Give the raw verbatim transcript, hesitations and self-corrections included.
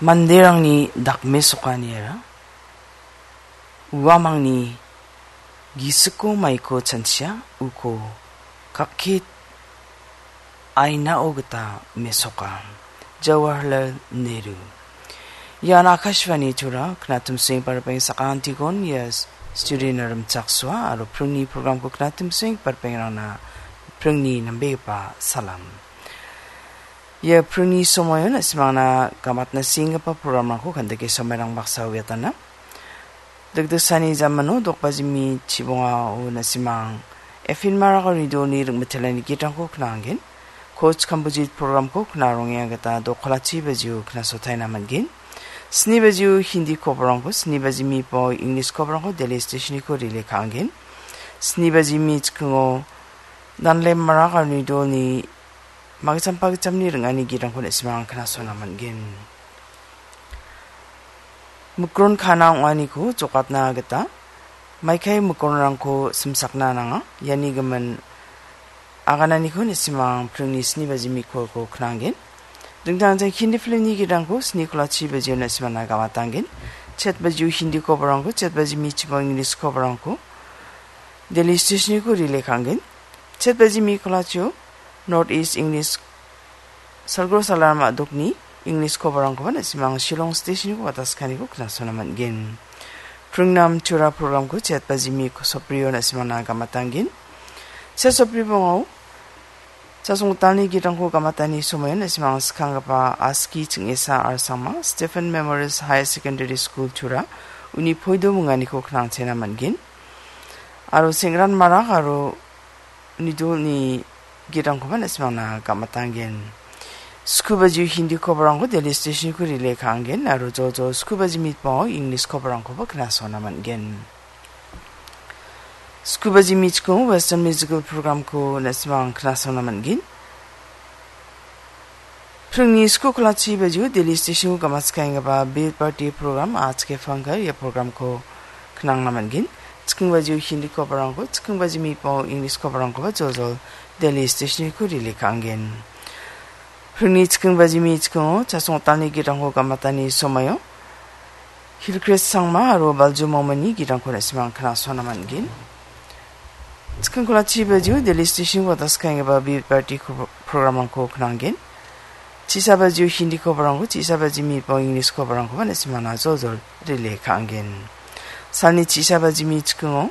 Manderangni dakmesokaniara uamangni gisiko maiko chanchia uko kakkit ainao gita mesoka. Jawaharlal Nehru. Ian Akashvani Tura, Knatumsing Parpeng Sakantikon, ia studio-na rimchaksoa, aro pringni program-ko Knatumsing Parpengrangna pringni nambegipa salam. Ia pringni somoion na·simangna gamatna senggipa program-rangko kandike somairang baksa uiatana. Dikdiksani jamano dokbajimi chibongao na·simang Efin Marak aro Nidolni ring·mitelani gitrangko knanggen. Coach Kambujit program-ko knarongenga gita dokolachi bajio knasotaina man·gen. Sni bajio Hindi koborangko, sni bajimi po English koborangko Delhi station-iko relay ka·angen. Sni bajimi chikingo Danlem Marak aro Nidolni magijam pagijamni ring·ani gitrangko na·simang knasona man·gen. Mikron kana ong·aniko jokatna gita maikai mikronrangko simsakna nanga. Iani gimin agananiko na·simang pringni sni bajimi kolko knanggen. Dingtang dingtang Hindi film-ni gitrangko sni kolachi bajio na·simana gamatanggen. Chet bajio Hindi koborangko, chet bajimi chibong English koborangko Delhi station-iko relay ka·angen. Chet bajimi kolachio North East English Salgro Salar ma·dokni English koborangkoba na·simang Shillong station-ko wataskaniko knasona man·gen. Pringnam Tura program-ko chet bajimi soprio na·simangna gamatanggen. Se sopri bongao Chasongtalni gitrangko gamatani somoion na·simang skanggipa Aski Ching·esa Arsangma Stephen Memorial Higher Secondary School Tura uni poido minganiko knangchena man·gen. Aro Sengran Marak aro Nidolni gitrangkoba na·simangna gamatanggen. Sku bajio Hindi koborangko Delhi station-ko relay ka·angen aro joljol sku bajimi po English koborangkoba knasona man·gen. Sku bajimi chikingo Western musical program-ko na·simang knasona man·gen. Pringni sku kolachi bajio Delhi station-o gamaskaenggipa Bid Party program, Aaj Ke Fangkar, ia program-ko knangna man·gen. Chiking bajio Hindi koborangko, chiking bajimi po English koborangkoba joljol Delhi station-ko relay ka·angen. Pringni chiking bajimi chikingo Chasongtalni gitrangko gamatani somoio Hilcrest Sangma aro Balju Momani gitrangko na·simang knasona man·gen. Chiking kolachi bajio Delhi station-o wataskangipa Bid Party ko-, program-rangko knanggen. Chisa bajio Hindi koborangko, chisa bajimi po English koborangkoba na·simana joljol relay ka·angen. Salni chisa bajimi chikingo